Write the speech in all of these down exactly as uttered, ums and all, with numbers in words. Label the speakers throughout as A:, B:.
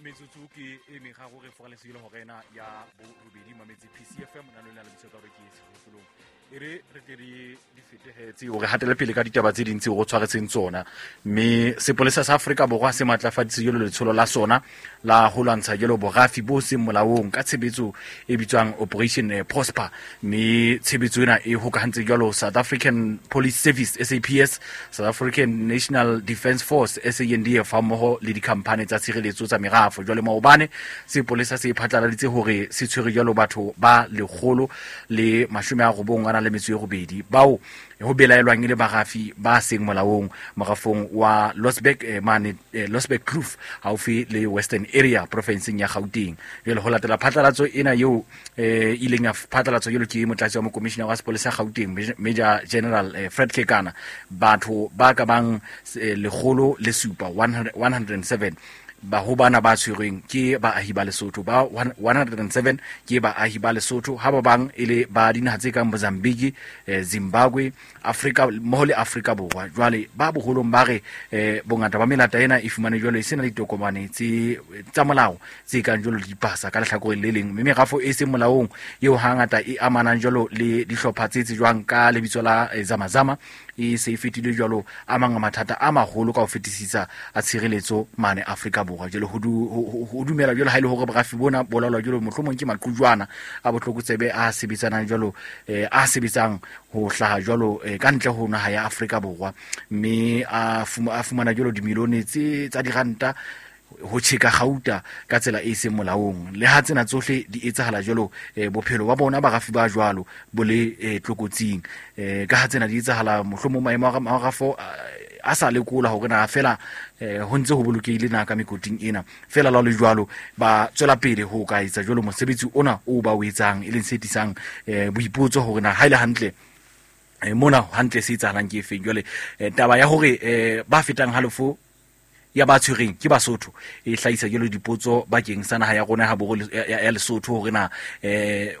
A: Metsotso ke e meraro re foralesile hora ena ya borobedi mametse P C F M na lona le bitso ka hore ke sehopolong. E re re tle re di fetehetse hore hatele pele ka ditaba tse ding tseo re tshwaretseng tsona. Mme sepolesa sa Afrika Borwa se matlafaditse jalo letsholo la sona la ho lwantsha jalo borafi bo seng molaong ka tshebetso e bitswang Operation Prosper. Mme tshebetso ena e hokahantse jalo South African Police Service S A P S, South African National Defence Force S A N D F hammoho le dikhamphane tsa tshireletso tsa merafo. Jwale maobane sepolesa se phatlaladitse hore se tshwere jalo batho ba lekgolo le mashome a robong a nang le metso e robedi bao ho belaelwang e le barafi ba seng molaong morafong wa Losberg eh, mane eh, Losberg Kloof haufi le Western Area profinseng ya Gauteng. Jwale ho latela phatlalatso ena eo eh, ileng ya phatlalatso jwalo ke motlatsi wa mokomishina wa sepolesa Gauteng Major General eh, Fred Kekana, batho ba ka bang eh, lekgolo le supa one hundred and seven ba ho bana ba tshwerweng ke baahi ba Lesotho, ba one hundred and seven ke baahi ba Lesotho, ha ba bang e le ba dinaha tse kang Mozambique, eh, Zimbabwe, Afrika mmoho le Afrika Borwa. Jwale ba boholong ba re eh, bongata ba melata ena e fumane jwale e sena ditokomane tse tsa molao tse kang jwalo dipasa ka lehlakoreng le leng, mme merafo e seng molaong eo hangata e amanang jwalo le dihlopha tse tsejwang ka lebitso la eh, Zamazama e se e fetile jwalo a mang a mathata a maholo ka ho fetisisa a tshireletso mane Afrika Borwa. Jwale ho dumela jwalo ha ile hore borafi bona bo laolwa jwalo mohlomong ke maqhujwana a botlokotsebe a sebetsanang jwalo eh, a sebetsang ho hlaha jwalo eh, ka ntle ho naha ya Afrika Borwa, mme a fumana jwalo dimilione tse tsa diranta ho tjheka gauta ka tsela e seng molaong. Le ha tsena tsohle di etsahala jwalo eh, bophelo ba bona barafi ba jwalo bo le eh, tlokotsing eh, ka ha tsena di etsahala mohlomong maemo a marafo a sa lekola hore na fela eh, ho ntse ho bolokehile na ka mekoting ena. Fela la le jwalo ba tswela pele ho ka etsa jwalo mosebetsi ona o ba o etsang, e leng se tisang eh, boipotso hore na ha ile hantle eh, mona hantle se etsahalang ke efeng. Jwale eh, taba ya hore eh, ba fetang halofo ya ba tshwereng ke Basotho e hlahisa jwalo dipotso bakeng sa naha ya rona ha borwa ya Lesotho hore na eh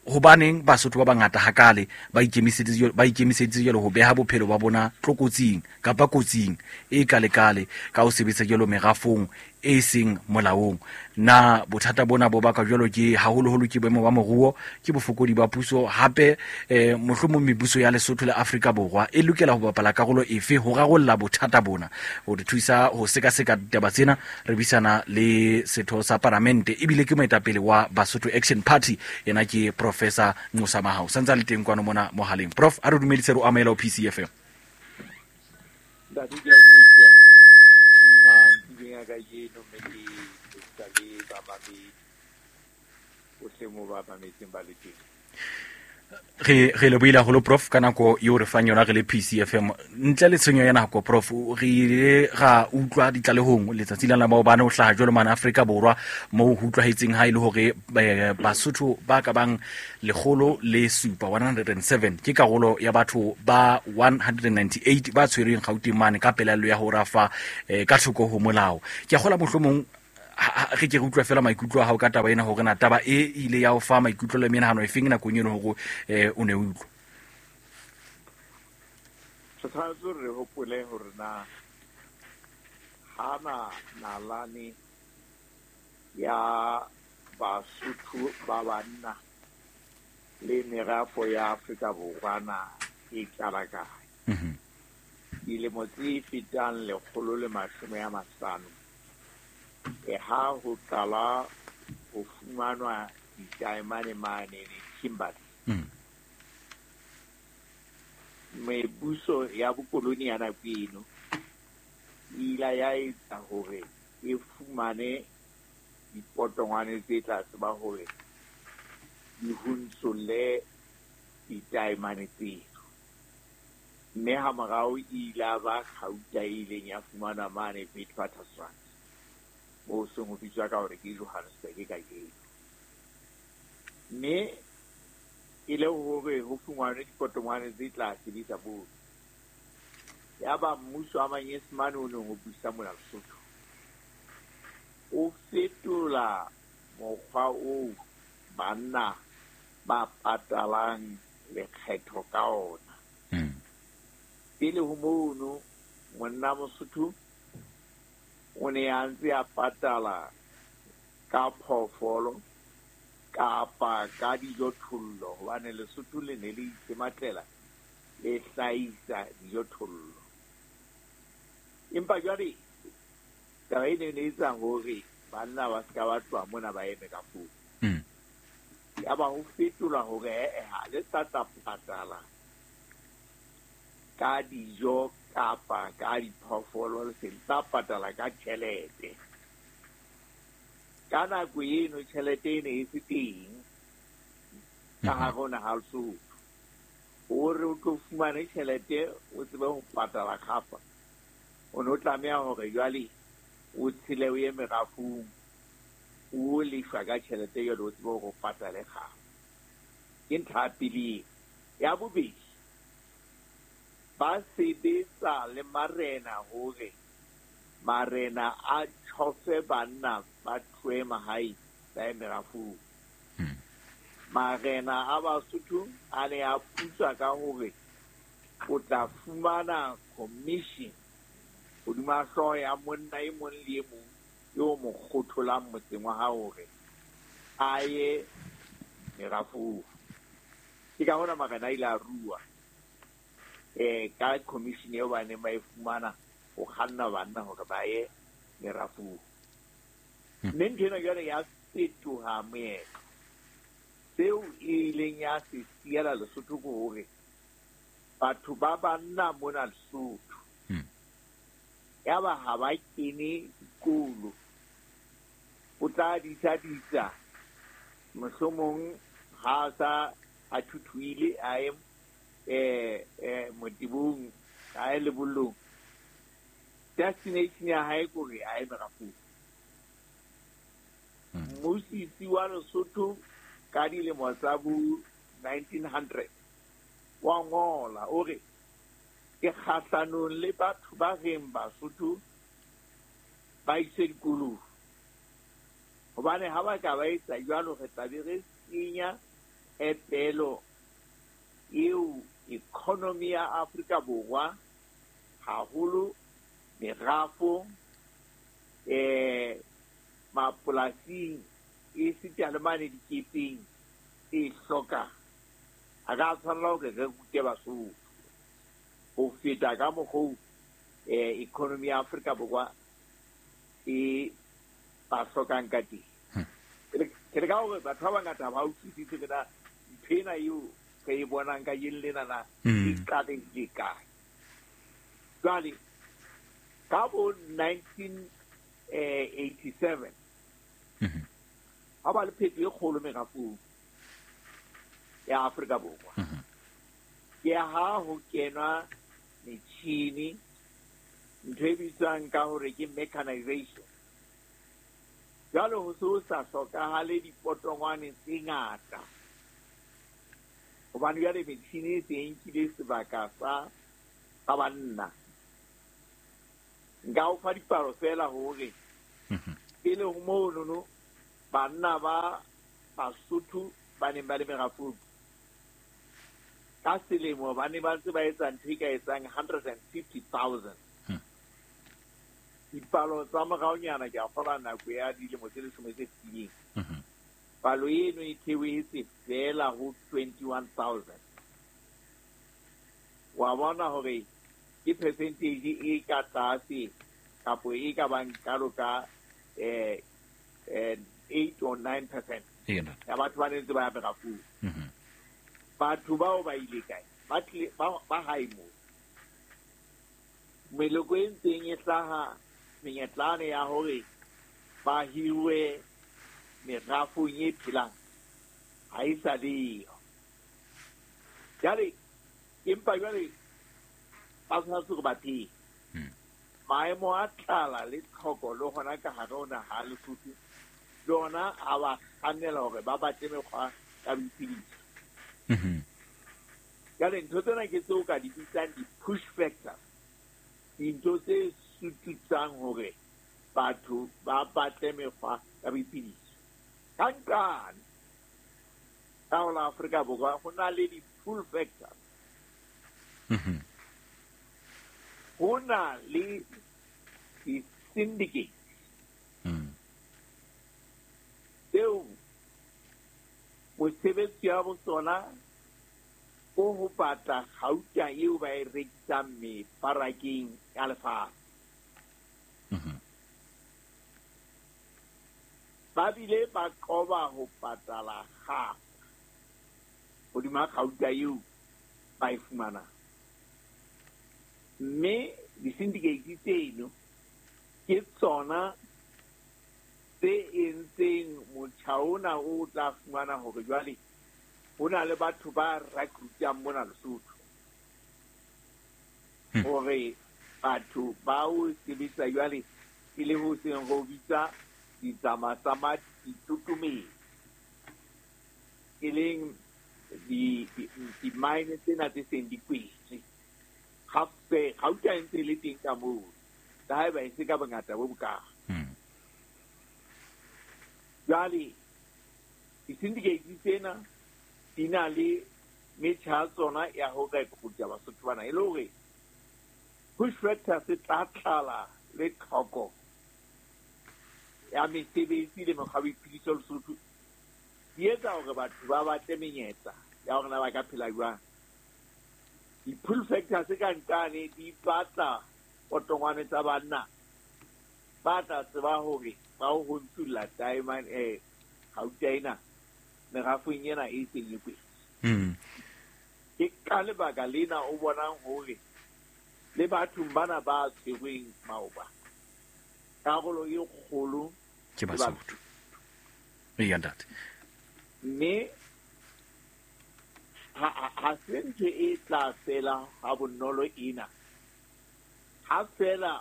A: hobaneng Basotho ba bangata hakale ba ikemiseditse ba ikemiseditse jwalo ho beha bophelo ba bona tlokotsing kapa kotsing e kalekale ka ho sebetsa jwalo merafong e seng molaong. Na bothata bona bo baka jwalo ke haholoholo ke boemo ba moruo, ke bofokodi ba puso, hape eh, mohlomong mebuso ya Lesotho le Afrika Borwa e lokela ho bapala karolo efe ho rarolla bothata bona. Ho re thusa ho sekaseka ditaba tsena re buisana le setho sa paramente ebile ke moetapele wa Basotho Action Party, yena ke Professor Nqosa Mahao. Santsa le teng kwano mona mohaleng. Prof, a re dumedise re o amohela ho P C F M.
B: Ntate, ke a dumedisa mantsibeng a kajeno, mme ke dumedisa le bamamedi bohle moo ba mametseng ba le teng.
A: Re re lebohile haholo Prof ka nako eo re fang yona re le P C F M. Ntle le tshenyo ya nako Prof, re ile ra utlwa ditlalehong letsatsi la maobane ho hlaha jwalo mane Afrika Borwa moo ho utlwahetseng ha e le hore Basotho ba ka bang lekgolo le supa one hundred and seven ke karolo ya batho ba one hundred and ninety-eight ba tshwerweng Gauteng mane ka pelaelo ya ho rafa eh, ka thoko ho molao. Ke a kgola mohlomong re ke re utlwa fela maikutlo a hao ka taba ena hore na taba e ile ya o fa maikutlo le menahano e feng nakong eno hore eh, o ne o utlwa.
B: Re tshwanetse re hopole hore na hana nalane ya Basotho ba banna le merafo ya Afrika Borwa na e qala kae.
A: Mm-hmm.
B: Dilemo tse fetang lekgolo le mashome a mahlano e ha ho qala ho fumanwa ditaemane mane Kimberley.
A: Mm.
B: Mebuso ya bokoloni ya nako eno e ile ya etsa hore e fumane dipotongwane tse tla tseba hore di huntsole ditaemane tseo. Mme ha morao e ile ba kgauta e ileng ya fumanwa mane Witwatersrand, moo seng ho bitswa ka hore ke Johannesburg kajeno. Mme e le hore ho fumanwe dipotongwane tse tla sebetsa moo. Yaba mmuso wa Manyesemane o neng o busa mona Lesotho o fetola mokgwa oo banna ba patalang lekgetho ka ona.
A: Mm.
B: Pele ho mono monna Mosotho o o ne a ntse a patala ka phoofolo kapa ka dijothollo, hobane Lesotho le ne le itematlela le hlahisa dijothollo. Empa jwale taba e ne e etsa hore banna ba ska ba tloha mona ba eme ka foo. Ya ba ho fetola hore eh ha le sa tla patala ka dijo kapa ka diphoofolo, le se tla patala ka tjhelete. Ka nako eno tjhelete e ne e se teng ka hare ho naha Lesotho. Hore o tlo fumane tjhelete o tsebe ho patala kgapa, o no tlameha hore jwale o tshele o ye merafong, o lefa ka tjhelete jwale o tsebe hore o patale kgapa. Ke ntlha ya pele. Ya bobedi, ba sebetsa le marena hore marena a tjhofe banna ba tlohe mahae ba ye merafong. Marena a Basotho a ne a putswa ka hore o tla fumana commission hodima hlooho ya monna e mong le e mong yo mo kgotholang motseng wa hao hore a ye merafong. Ke ka hona marena a ile a rua eh ka commission eo ba neng ba e fumana ho kganna banna hore ba ye merafong. Mme ntho ena jwale ya fetoha moetlo. Seo e ileng ya se siela Lesotho ke hore batho ba banna mona Lesotho ya ba ha ba kene dikolo, o tla disa disa mohlomong ha sa a thuthuile a ye eh eh motibong, a ye lebollong, destination ya hae kore a ye merafong. Mmusisi wa Lesotho ka dilemo tsa bo nineteen hundred wa ngola o re ke kgahlanong le batho ba reng Basotho ba iswe dikolong, hobane ha ba ka ba etsa jwalo re tla be re senya phepelo eo economy ya Afrika Borwa haholo merafo eh mapolasing e sita le mane dikepeng e hloka. Ha ka tshwanela hore re rute Basotho ho feta ka mokgwa eh economy ya Afrika Borwa e ba hlokang ka teng. Ke re ka hore batho ba bangata ba utlwisise na ntho ena eo re e bonang ka yeng lena na e qalehile kae. Jwale ka bo nineteen eighty-seven ha ba le phetoho e kgolo merafong ya Afrika Borwa. Ke ha ho kenwa metjhini, ntho e bitswang ka hore ke mechanization. Jwale ho se sa hlokahale dipotongwane tse ngata, hobane jwale metjhini e se e nkile sebaka sa sa banna. Nka o fa dipalo fela hore pele ho monono banna ba Basotho ba neng ba le merafong ka selemo ba ne ba ntse ba etsa ntho e ka etsang hundred and fifty thousand. Dipalo tsa moraonyana ke a kgolwa nako ya dilemo tse leshome tse fetileng, palo eno e theohetse fela ho twenty-one thousand. Wa bona hore ke percentage e ka tlase kapo e ka bang kalo ka eh eight or nine percent ya batho ba ne ntse ba ya merafong. Batho bao ba ile kae? Ba tlile ba hae moo. Meloko e ntseng e hlaha menyetlane ya hore ba hirwe merafong e phelang ha e sa leyo. Jwale empa jwale ba tshwanetse hore ba phele. Maemo a tlala le tlhoko le hona ka hare ho naha Lesotho le ona a ba kgannela hore ba batle mekgwa ya boiphediso. Jwale ntho tsena ke tseo ka di bitsang di-push factors, dintho tse sututsang hore batho ba batle mekgwa ya boiphediso. Ka nqane ka ho la Afrika Borwa ho na le di-pull factors. Ho na le di-syndicate Mesebetsi ya bo tsona ko ho batla kgauta eo ba e rekisang mebarakeng ya lefatshe. Ba bile ba qoba ho patala kgafa hodima kgauta eo ba e fumanang. Mme di-syndicate tseno ke tsona tse entseng motjha ona o tla fumana hore jwale ho na le batho ba recruitang mona Lesotho. Hore batho ba o sebetsa jwale e le ho seng ho bitsa ditsamasama ditutumeng, e leng di-mine tsena tse seng di kwetswe. Gape gauta e ntse e le teng ka moo, le haeba e se ka bongata bo bokalo. Jwale di-syndicate tsena di na le metjha ya tsona ya ho recruita Basotho bana, e le hore push factor se tla tlala le tlhoko ya mesebetsi le mekgwa ya boiphediso Lesotho di etsa hore batho ba batle menyetla ya hore na ba ka phela jwang. Di-pull factors ka nqane di batla potongwane tsa banna ba tla tseba hore ba ho ntshulla diamond eh gauta ena merafong ena e seng e kwetse. Ke ka lebaka lena o bonang hore le bathong bana ba tshwerweng maoba karolo e kgolo
A: ke Basotho. Eya ntate.
B: Mme ha ha se ntho e tla fela ha bonolo ena. Ha fela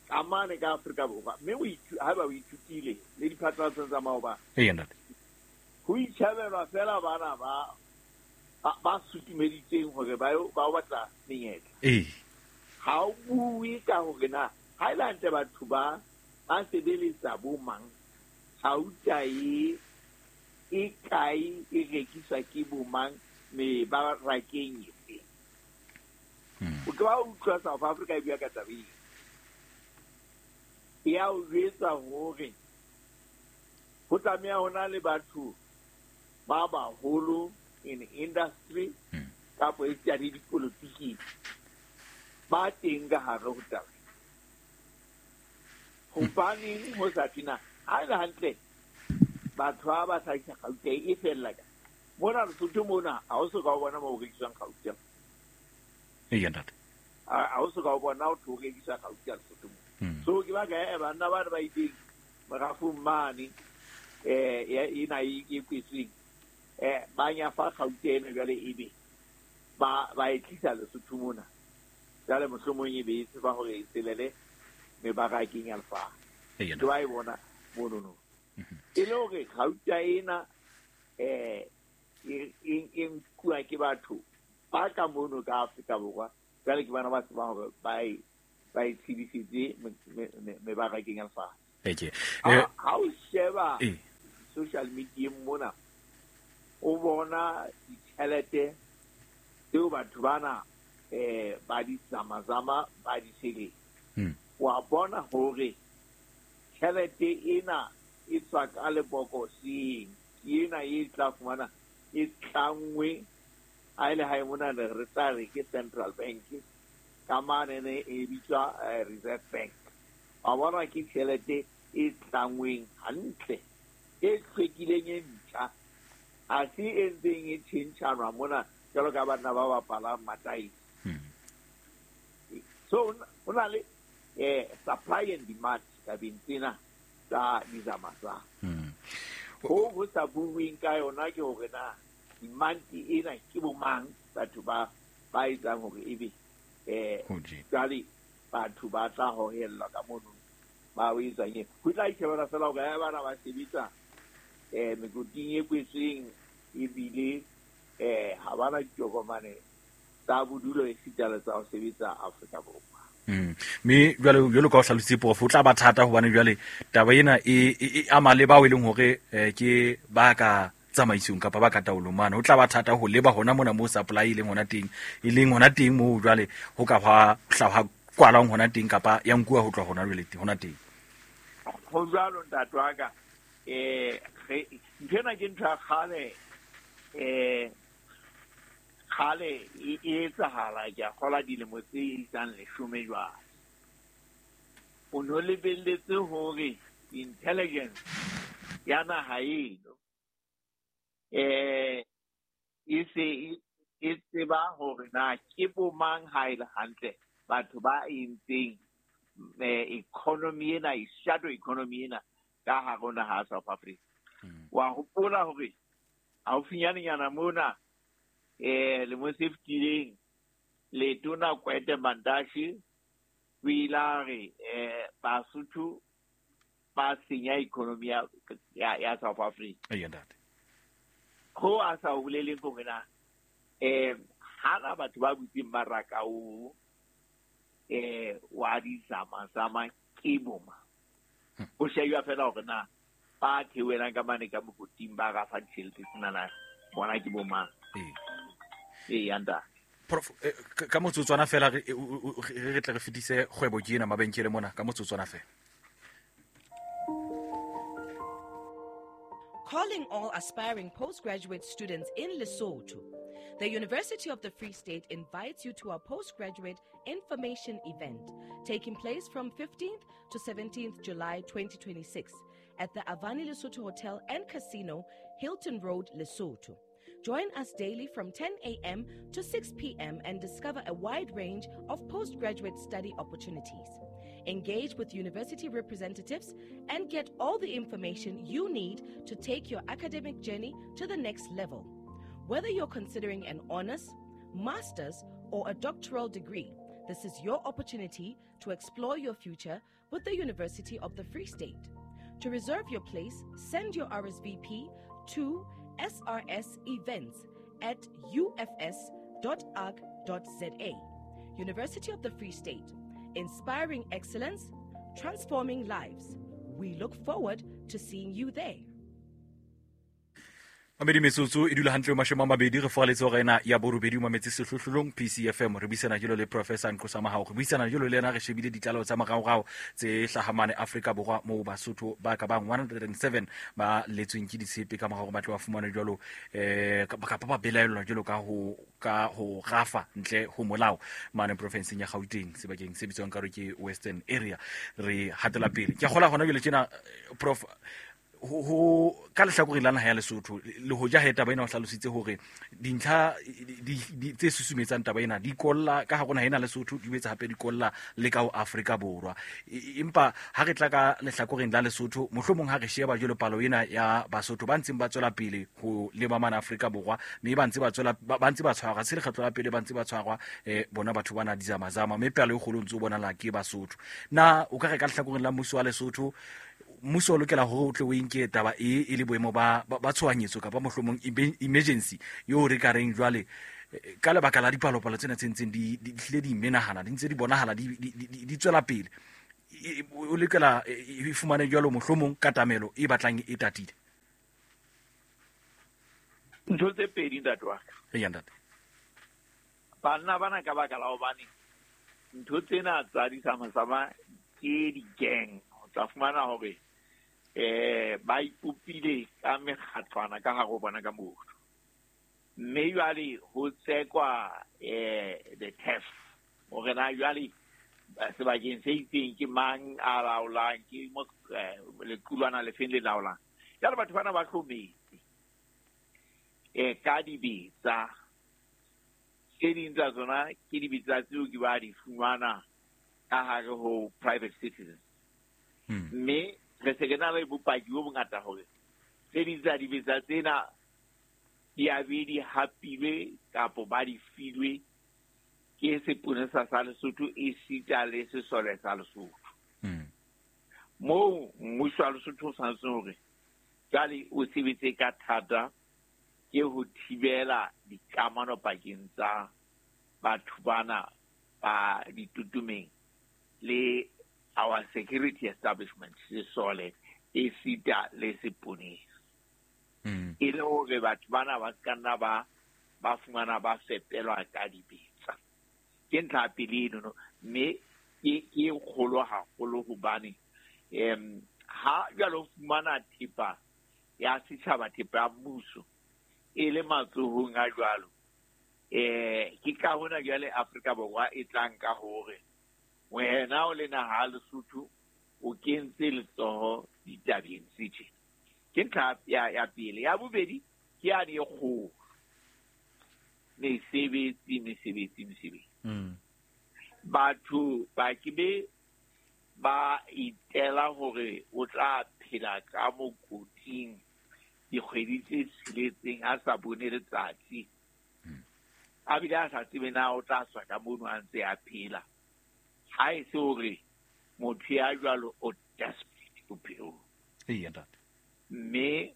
B: ka mane ka Afrika Borwa, mme o haeba o ithutile le diphatlalatsong tsa maoba.
A: Eya ntate.
B: Ho itjhabelwa fela bana ba ba sutumeditseng hore ba ba batla menyetla.
A: Ee.
B: Ha o bue ka hore na ha ile hantle batho ba ba sebeletsa bo mang, gauta e e kae, e rekiswa ke bo mang, mebarakeng efe. O ke wa utlwa South Africa e bua ka taba eo. E ya o jwetsa hore ho tlameha ho na le batho ba baholo in industry kapa esita le dipolotiking ba teng ka hare ho taba. Hobaneng ho sa thwe na ha e le hantle batho ba ba hlahisa gauta e fella ka mona Lesotho mona, ha o so ka o bona moo ho rekiswang gauta.
A: Eya ntate.
B: Ha o so ka o bona ho thwe ho rekiswa gauta Lesotho mona. So ke baka e banna ba ba ileng merafong mane eh ena e kwetsweng eh ba nyafa gauta ena jwale ebe ba ba e tlisa Lesotho mona. Jwale mohlomong e be e tseba hore e tselele mebarakeng ya lefatshe.
A: Eya
B: Ke wa e bona monono. E le hore gauta ena eh e e nkuwa ke batho ba ka mono ka Afrika Borwa, jwale ke bana ba tsebang hore ba e ba e tshebisitse mebarakeng ya lefatshe.
A: Eke.
B: Ha o sheba social media mona, o bona ditjhelete tseo batho bana eh ba di zamazama ba di sele. Wa bona hore tjhelete ena e tswa ka lebokoseng, ke ena e tla fumana e tlangwe ha ile ha e mona re tla re ke Central Bank ka mane ne e bitswa Reserve Bank. Wa bona ke tjhelete e tlangweng hantle, e hlwekileng e ntjha, ha se e ntseng e tjhentjhanwa mona jwalo ka banna ba bapalang mataese. So ho na le eh supply and demand tabeng tsena tsa dizamasa. Ho ho sa bueng ka yona ke hore na demand ena ke bo mang, batho ba ba etsang hore ebe eh jwale batho ba tla hohellwa ka mono ba o etsang e. Ho tla itjhebela fela hore ha bana ba sebetsa eh mekoting e kwetsweng ebile eh ha bana ditokomane tsa bodulo esita le tsa ho sebetsa Afrika Borwa.
A: Mm. Mme jwale jwalo ka o hlalositse prof, o tla ba thata hobane jwale taba ena e e ama le bao e leng hore ke ba ka tsamaisong kapa ba ka taolong mane. Ho tla ba thata ho leba hona mona moo supply e leng hona teng, e leng hona teng moo jwale ho ka hwa hlaha kwalwang hona teng kapa ya nkuwa ho tloha hona jwale hona teng.
B: Ho jwalo ntate wa ka, Eh ntho ena ke ntho ya kgale eh kgale e etsahala ke a kgola dilemo tse isang leshome jwale. O no lebelletse hore intelligence ya naha eno eh e se e tseba hore na ke bo mang ha e le hantle batho ba entseng economy ena, e shadow economy ena ka hare ho naha ya South Africa. Wa hopola hore haufinyanenyana mona eh lemong se fetileng letona Gwede Mantashe o ile a re eh Basotho ba senya economy ya ya South Africa.
A: Eya ntate.
B: Ho a sa boleleng hore na eh hana batho ba butseng maraka o eh wa dizamazama ke boma. O shejwa fela hore na ba theohelang ka mane ka mokoting ba rafa ditjhelete tsena bona ke bomang. Ee ntate.
A: Prof, ka motsotswana fela re re tle re fetise kgwebo ke ena mabenkele mona ka motsotswana fela.
C: Calling all aspiring postgraduate students in Lesotho. The University of the Free State invites you to our postgraduate information event taking place from fifteenth to seventeenth July twenty twenty-six at the Avani Lesotho Hotel and Casino, Hilton Road, Lesotho. Join us daily from ten a.m. to six p.m. and discover a wide range of postgraduate study opportunities. Engage with university representatives and get all the information you need to take your academic journey to the next level. Whether you're considering an honors, master's, or a doctoral degree, this is your opportunity to explore your future with the University of the Free State. To reserve your place, send your R S V P to S R S events at U F S dot org dot Z A. University of the Free State, inspiring excellence, transforming lives. We look forward to seeing you there.
A: Mamedi metsotso e dula hantle mashome a mabedi re foraletse hore ena ya borobedi mametse sehlohlolong P C F M re buisana jalo le Professor Nqosa Mahao re buisana jalo le yena re shebile ditlaleho tsa moraorao tse hlahamane Afrika Borwa moo Basotho ba ka bang one hundred and seven ba letsweng ke ditshepe ka morao ba tlo ba fumana jalo eh kapa ba belaellwa jalo ka ho ka ho rafa ntle ho molao mane profinseng ya Gauteng sebakeng se bitswang ka hore ke Western Area. Re hatela pele ke a kgola hona jwale tjena Prof ho ka lehlakoreng la naha ya Lesotho le hoja he taba ena o hlalositse hore dintlha tse susumetsang taba ena di kolla ka hare ho naha ena Lesotho di boetse hape di kolla le ka ho Afrika Borwa. Empa ha re tla ka lehlakoreng la Lesotho mohlomong ha re sheba jwalo palo ena ya Basotho ba ntseng ba tswela pele ho leba mane Afrika Borwa mme ba ntse ba tswela ba ntse ba tshwarwa se lekgetlo la pele ba ntse ba tshwarwa eh bona batho bana dizamazama mme palo e kgolo ntse o bonala ke Basotho. Na o ka re ka lehlakoreng la mmuso wa Lesotho mmuso o lokela hore o tle o inke taba e e le boemo ba ba tshohanyetso kapa mohlomong emergency yo re ka reng jwale ka lebaka la dipalopalo tsena tse ntseng di di hlile di menahana di ntse di bonahala di di tswela pele o lokela e fumane jwalo mohlomong katamelo e batlang e tatile.
B: Ntho tse pedi ntate wa ka.
A: Eya ntate.
B: Banna bana ka baka la hobane ntho tsena tsa disamasama ke di-gang o tla fumana hore eh ba ipopile ka mekgatlwana ka hare ho bona ka motho mme jwale ho tsekwa eh the theft hore na jwale sebakeng se itseng ke mang a laolang ke mo lequlwana lefeng le laolang. Jwale batho bana ba hlometse eh ka dibetsa tse ding tsa tsona ke dibetsa tseo ke ba di fumana ka hare ho private citizens mme re se ke na le bopaki bo bongata hore tse ding tsa dibetsa tsena di a be di hapilwe kapo ba di filwe ke seponesa sa Lesotho esita le sesole sa Lesotho. Moo mmuso wa Lesotho o tshwanetse hore jwale o sebetse ka thata ke ho thibela dikamano pakeng tsa batho bana ba ditutumeng le our security establishment sesole esita le seponesa. E le hore batho bana ba ska nna ba ba fumana ba fepelwa ka dibetsa. Ke ntlha ya pele eno mme ke ke kgolo haholo hobane em ha Ha jwale o fumana thepa ya setjhaba, thepa ya mmuso e le matsohong a jwalo, eh ke ka hona jwale Afrika Borwa e tlang ka hore wena o le naha ya Lesotho o kentse letsoho ditabeng tse tjena. Ke ntlha ya ya pele. Ya bobedi ke ya di kgolo, mesebetsi mesebetsi mesebetsi.
A: Mm.
B: Batho ba ke be ba itela hore o tla phela ka mokoting dikgwedi tse tsheletseng a sa bone letsatsi, a bile a sa tsebe na o tla tswa ka mono a ntse a phela. Ha e se hore motho ya jwalo o desperate bophelong.
A: Eya ntate.
B: Mme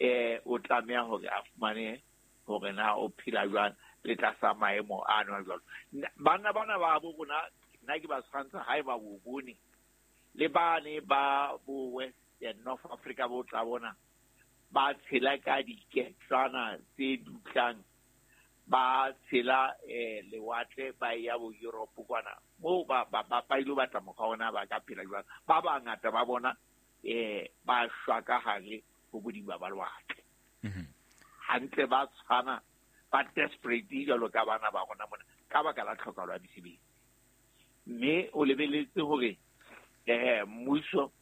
B: eh o tlameha hore a fumane hore na o phela jwang le tlasa maemo ano a jwalo. Banna bana ba bo rona nna ke ba tshwantsha ha eba bo bone le bane ba bo West and North Africa bo tla bona ba tshela ka diketswana tse dutlang, ba tshela eh lewatle ba ya bo Europe kwana moo ba ba ba ilo batla mokgwa ona ba ka phela jwang. Ba bangata ba bona eh ba shwa ka hare ho bodiba ba lewatle. Hantle ba tshwana ba desperate jwalo ka bana ba rona mona ka baka la tlhokahalo ya mesebetsi. Mme o lebeletse hore eh mmuso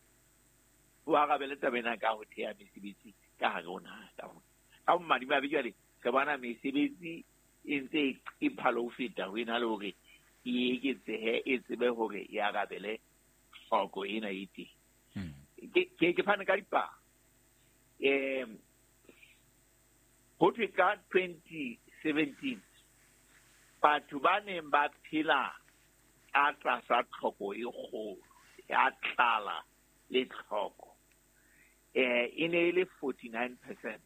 B: o arabele taba ena ka ho theha mesebetsi ka hare ho naha ka mona. Ka bomadimabe jwale re bona mesebetsi e ntse e phalo ho feta ho ena le hore e eketsehe, e tsebe hore e arabele tlhoko ena e teng. Ke ke ke fane ka dipalo. Eh ho thwe ka twenty seventeen batho ba neng ba phela ka tlasa tlhoko e kgolo ya tlala le tlhoko eh e ne e le forty-nine percent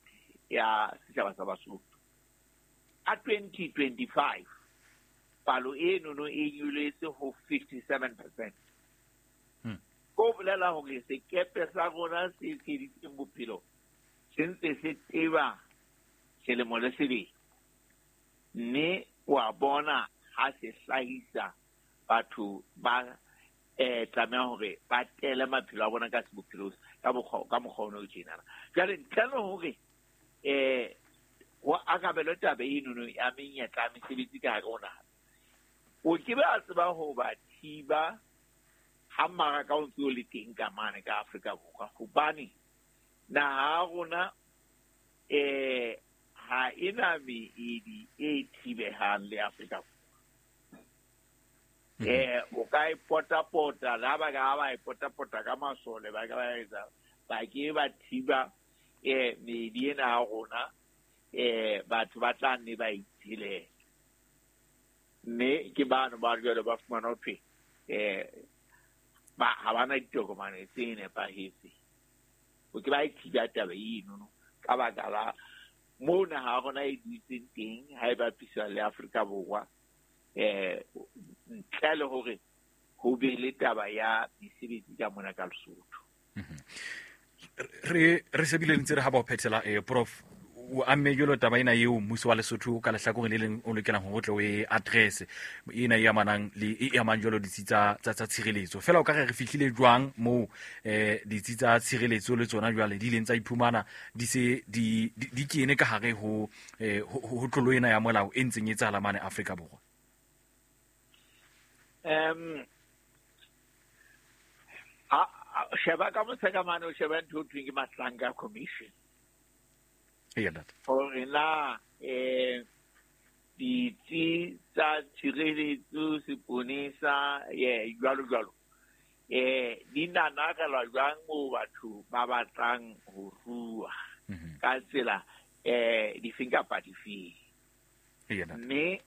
B: ya setjhaba sa Basotho. Ka twenty twenty-five palo eno no e nyoletse ho fifty-seven percent. Ko bolela hore sekepe sa rona se tsheditseng bophelo se ntse se teba selemo le selemo, mme wa bona ha se hlahisa batho ba eh tlameha hore ba tele maphelo a bona ka sebophelo ka mokgwa ka mokgwa ono tjena. Jwale ntle le hore eh ho arabelwe taba eno no ya menyetla ya mesebetsi ka hare ho naha, o ke be a tseba ho ba thiba ha mmaraka o ntse o le teng ka mane ka Afrika Borwa, hobane naha ya rona eh ha ena meedi e thibehang le Afrika Borwa. Eh o ka e potapota la ba ka ba e potapota ka masole ba ka ba etsa ba ke ba thiba eh meedi ena ya rona, eh batho ba tla nne ba itshilela. Mme ke bano ba jwale ba fumana ho thwe eh ba ha bana ditokomane tse nepahetseng. O ke ba e thiba taba eno no ka baka la moo naha ya rona e dutseng teng ha e bapiswa le Afrika Borwa, eh ntle le hore ho be le taba ya mesebetsi ka mona ka Lesotho.
A: Re re shebile ntse re ha ba o phethela eh prof o amme jwalo taba ena eo mmuso wa Lesotho ka lehlakoreng le leng o lokelang hore o tle o e address ena e amanang le e amang jwalo ditsi tsa tsa tsa tshireletso. Fela o ka re re fihlile jwang moo eh ditsi tsa tshireletso le tsona jwale di ileng tsa iphumana di se di di kene ka hare ho ho tlolo ena ya molao e ntseng e etsahala mane Afrika Borwa?
B: Um a sheba ka moseka mane o sheba ntho e thweng ke Madlanga Commission.
A: Eya ntate.
B: Hore na eh ditsi tsa tshireletso, seponesa, ye jwalo jwalo eh di nanakelwa jwang moo batho ba batlang ho rua ka tsela eh difeng kapa difeng.
A: Eya ntate.
B: Mme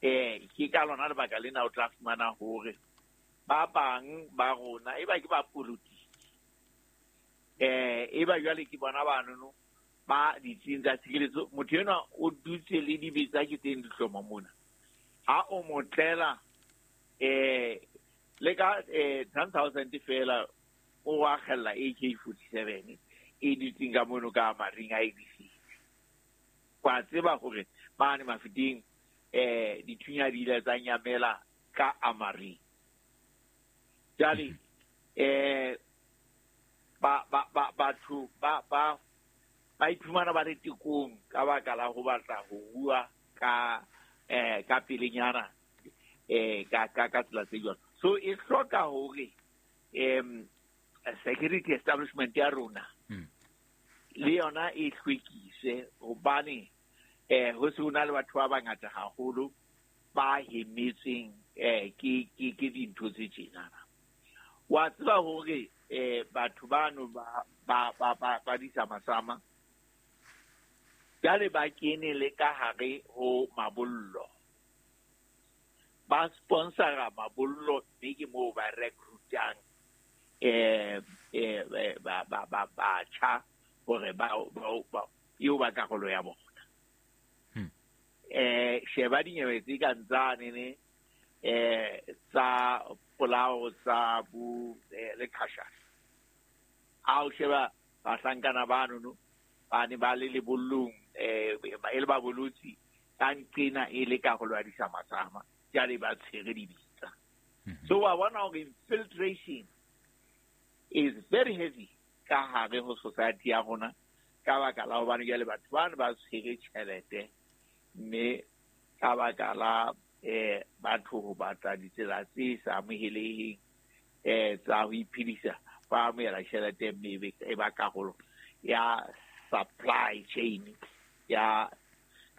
B: eh ke ka lona lebaka lena o tla fumana hore ba bang ba rona e ba ke ba politiki eh e ba jwale ke bona banono ba ditsing tsa tshireletso. Motho enwa o dutse le dibetsa ke teng dihloma mona, ha o mo tlela eh le ka eh ten thousand fela o akgella A K forty-seven e dutseng ka mono ka maring a A B C. Kwa tseba hore mane Mafeteng eh dithunya di ile tsa nyamela ka amaring. Jwale eh ba ba batho ba ba ba iphumana ba le tekong ka baka la ho batla ho rua ka eh ka pelenyana eh ka ka ka tsela tse jwalo. So e hloka hore em security establishment ya rona le yona e hlwekise, hobane eh ho se hona le batho ba bangata haholo ba hemetseng eh ke ke ke dintho tse tjenana. Wa tseba hore eh batho bano ba ba ba ba ba disamasama jwale ba kene le ka hare ho mabollo, ba sponsora mabollo, mme ke moo ba recruitang eh eh ba ba ba batjha hore ba ba eo ba karolo ya bona. Eh sheba dinyewe tse kang tsane ne eh tsa polao tsa bo le khashasha. A o sheba bahlankana bano no ba ne ba le lebollong eh e le ba bolotsi ka nqena e le karolo ya disamasama jwale ba tshwere dibitsa. So wa bona hore infiltration is very heavy ka hare ho society ya rona ka baka la hobane jwale batho bana ba tshwere tjhelete, mme ka baka la eh batho ho batla ditsela tse sa amoheleheng eh tsa ho iphedisa, ba amohela tjhelete mme e ba karolo ya supply chain ya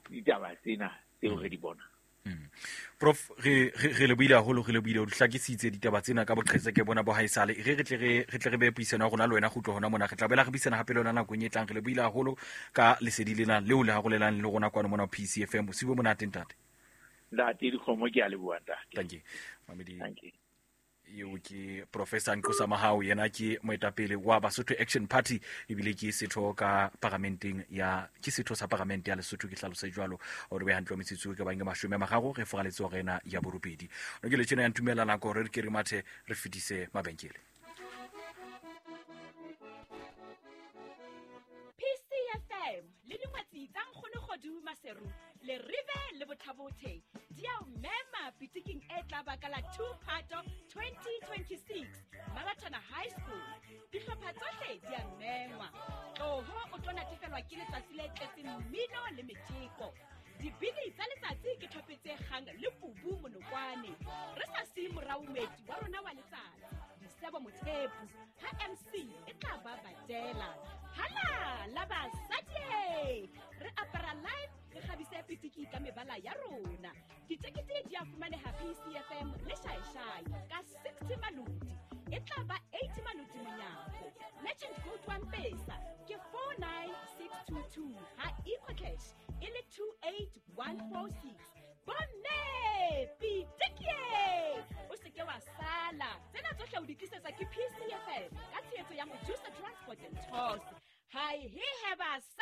B: ditaba tsena tseo re di bonang.
A: Mm. Prof, re re le buile haholo, re le buile o hlakisitse ditaba tsena ka boqhetseke bona bo haesale. Re re tle re re tle re be puisano ya rona le wena kgutlo hona mona, re tla bela re buisana hape le yona nakong e tlang. Re le buile haholo ka lesedi lena leo le harolelang le rona kwano mona P C F M. Bosiu bo monate ntate.
B: Ntate Dikgomo, ke a leboha ntate.
A: Thank you. Mamedi.
B: Thank you.
A: Eo ke Professor Nqosa Mahao, yena ke moetapele wa Basotho Action Party ebile ke setho ka paramenteng ya ke setho sa paramente ya Lesotho, ke hlalose jwalo hore be hantle metsotso ke bang mashome a mararo re foraletse hore ena ya borobedi. No ke le tjena ya ntumella nako hore re ke re mathe re fetise mabenkele.
C: P C F M le dingwetsi tsa Nkgono Kgodu Maseru le Rive le Bothabothe di a o mema pitiking e tla baka la two Phato twenty twenty-six Mabatana High School. Dihlopha tsohle di a mengwa. Tloho o tlo natefelwa ke letsatsi le tletseng mmino le metjeko. Dibini tsa letsatsi ke thopetse kgang le Kubu Monokwane. Re sa siye morao moeti wa rona wa letsatsi, Disebo Mothepu, ha M C e tla ba badela. Hala la basadi, re apara live, re kgabise pitiki ka mebala ya rona. Ditekete di a fumaneha P C F M le Shaishai ka sixty maloti, e tla ba eighty maloti monyako. Merchant code wa M-Pesa ke four nine six two two, ha EcoCash e le two eight one four six. Bomme pitiki, o se ke wa sala. Tsena tsohle o di tlisetsa ke P C F M ka tshehetso ya Mojusa Transport and Tours. Hai he he basadi.